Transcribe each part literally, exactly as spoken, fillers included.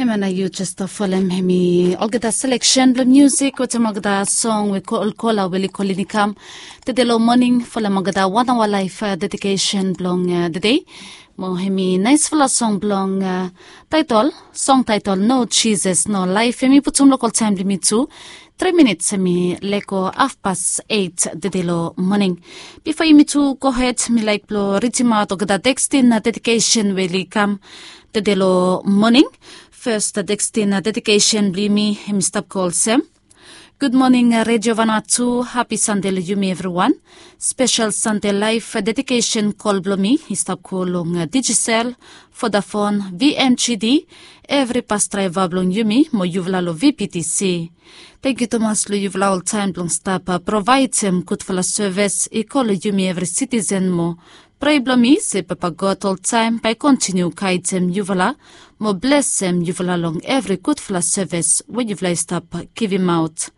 Hemia nao yu jes folem hemi olgeta seleksen blong musik wetem olgeta song we kolkola we oli kolini kam tede long moning folem olgeta wan aoa laef dedikesen blong tede. Mo hemi naesfala song blong taetol, song taetol No Jisas No Laef, hemi putum long oltaem blong yumi tu. Tri minits hemi lego hafpas eit tede long moning. Bifo yumi tu gohed, mi laek blong ridimaot olgeta tekstin na dedikesen we oli kam tede long moning. Fes tekstin na dedikesen blong yumi hemi stap go olsem. Gud moning Redio Vanuatu, hapi Sande long yumi evriwan. Spesel Sande laef dedikesen kol blong mi i stap go long Digicel, Vodafone, V M G D, evri pas draeva blong yumi mo yufala long V P T C. Tangkiu tumas long yufala oltaem blong stap provaedem gudfala sevis i go long yumi evri sitisen mo prea blong mi se Papa God oltaem bae kontiniu gaedem yufala mo blesem yufala long evri gudfala sevis we yufala i stap givimaot.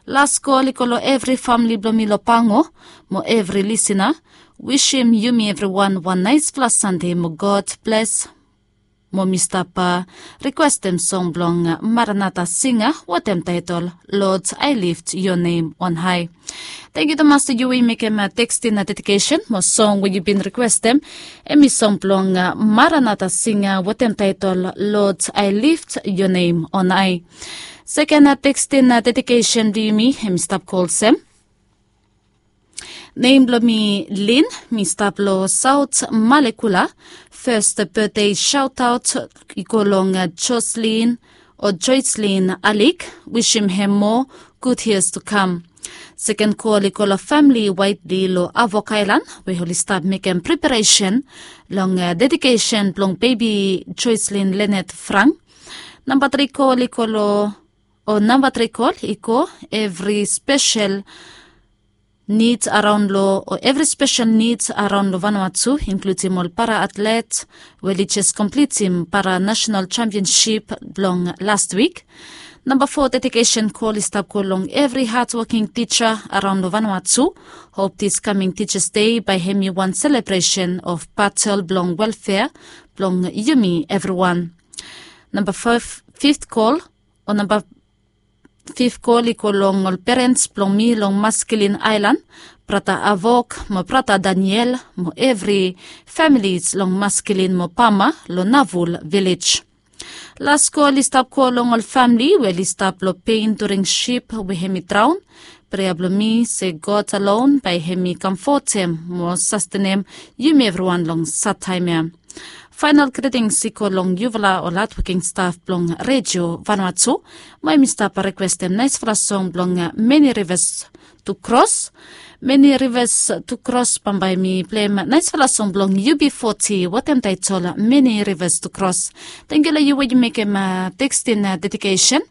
Las kol i go long evri famle blong mi long Pango mo evri lisina. Wisim yumi evriwan wan naesfala Sande mo God bles. Mo mi stap rikwestem song blong Maranata Singa wetem taetol Lord, I Lift Your Name on High. Tangkiu tumas tu yu we yu mekem tekstin na dedikesen mo song we yu bin rikwestem, hemi song blong Maranata Singa wetem taetol Lord, I Lift Your Name on High. Seken tekstin na dedikesen blong yumi hemi stap go olsem. Nem blong mi Lin, mi stap long Saot Malekula. Fes betde saotaot i go long Joslin o Joycelyn Alik, wisim hem moa gud yias tu kam. Seken kol i go long famle Waetli long Havok Aelan we oli stap mekem preparesen long dedikesen blong bebi Joycelyn Lenet Frank. Namba tri kol i go long, o namba tri kol i go evri spesel nid araon long, o evri spesel nid araon long Vanuatu, inkludim ol para atlet we oli jes komplitim para nasenal jampionsip blong las wik. Namba fo dedikesen kol i stap go long evri hadwoking tija araon long Vanuatu. Hop dis kaming Tijas Dei bae hemi wan selebresen of batel blong welfea blong yumi evriwan. Namba fif, fif kol, o namba fif kol i go long ol perens blong mi long Maskilin Aelan, brata Havok mo brata Daniel mo evri familis long Maskilin mo Pama long Nauvoo Village. Las kol i stap go long ol famle we oli stap long pen during sip we hemi draon. Prea blong mi se God alon bae hemi kamfotem mo sastenem yumi evriwan long sad taem ya. Faenal gritings i go long yufala ol hadwoking staf blong Redio Vanuatu. Mo yumi stap rikwestem naesfala song blong Many Rivers to Cross. Many Rivers to Cross, bambae mi pleim naesfala song blong U B forty wetem taetol Many Rivers to Cross. Tangkiu long yu we yu mekem tekstin dedikesen.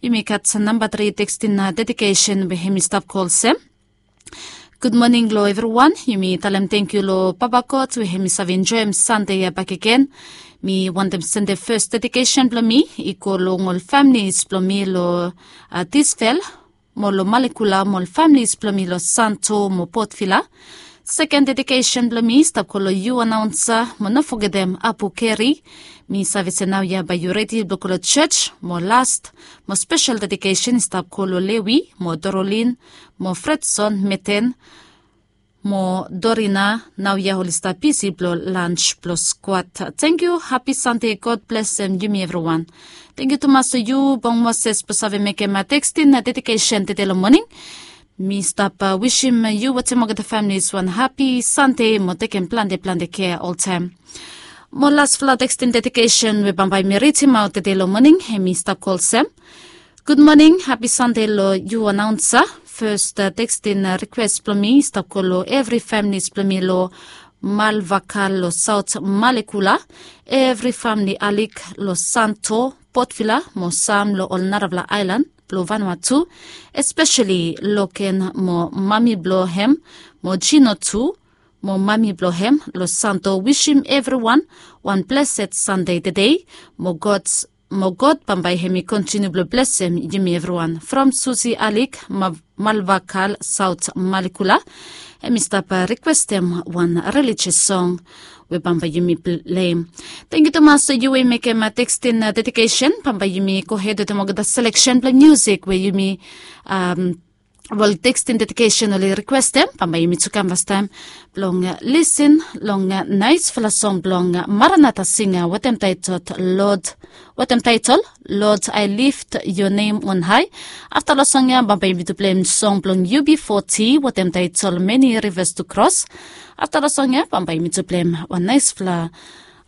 Yumi gat namba tri tekstin dedikesen we hemi stap go olsem. Gud moning long evriwan. Yumi talem tangkiu long Papa God we hemi save enjoem Sande ya bakegen. Mi wantem sendem fes dedikesen blong mi i go long ol familis blong mi long Tisfel mo long Malekula mo ol familis blong mi long Santo mo Port Vila. Seken dedikesen blong mi i stap go long yu anaonsa mo no fogetem Apu Keri. Mi save se naoia bae yu redi blong go long jos. Mo las mo spesel dedikesen i stap go long Lewi mo Dorolin mo Fredson Meten mo Dorina, naoia oli stap bisi blong lans blong skwat. Tangkiu, hapi Sande, God blesem yumi evriwan. Tangkiu tumas long yu Bong Moses blong save mekem tekstin dedikesen tede long moning. Mi stap wisim yu wetem olgeta familis wan hapi Sande mo tekem plante plante kea oltaem. Mo lasfala tekstin dedikesen we bambae mi ridimaot tede long moning hemi stap go olsem. Gud moning, hapi Sande long yu anaonsa. Fes tekstin rikwes blong mi i stap go long evri familis blong mi long Malvakal long Saot Malekula, evri famili Alik long Santo, Port Vila mo sam long ol narafala aelan blong Vanuatu, espeseli Loken mo mami blong hem mo Jino tu mo mami blong hem long Santo. Wisim evriwan wan blesed Sande tede. Mo God, mo God bambae hemi kontiniu blong blesem yumi evriwan. From Susi Alik, Malvakal, Saot Malekula, hemi stap rikwestem wan relijios song. we bambae yumi pleim. Tengiu tumas yu we i mekem tekstin dedikesen. Bambae yumi gohed wetem olgeta seleksen blong musik we yumi, wel, tekstin dedikesen oli rikwestem. Bambae yumi tu kam fastaem blong lisin long naesfala song blong Maranata singa wetem taetol lod wetem taetol lod I lift yo nem on hai. Afta long song ya bambae yumi tu pleim song blong ub foti wetem taetol meni rivas tu kros. Afta long song ya bambae yumi tu pleim wan naesfala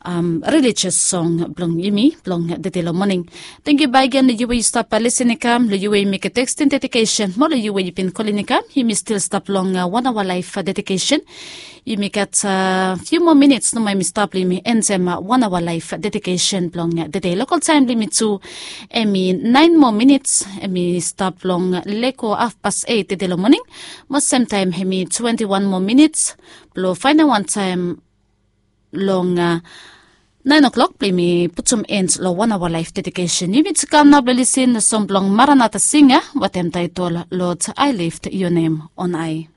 relijias song blong yumi blong tede long moning. Tengiu baegen long yu we yu stap lisin i kam long yu we yu mekem tekstin dedikesen mo long yu we yu bin kolin i kam yumi stil stap long wan aoa laef dedikesen. Yumi gat fiu moa minits nomo yumi stap long yumi enjem wan aoa laef dedikesen blong tede lokal taem blong yumi tu. Em i naen moa minits em i stap long lego hafpas eit tede long moning. Mo semtaem em i twenti wan moa minits blong faenem wan taem long naen o'klok blong yumi putum en long wan aoa laef dedikesen. Yumi tu kam nao blong lisin long song blong Maranata singa wetem taetol lod I lift yo nem on hai.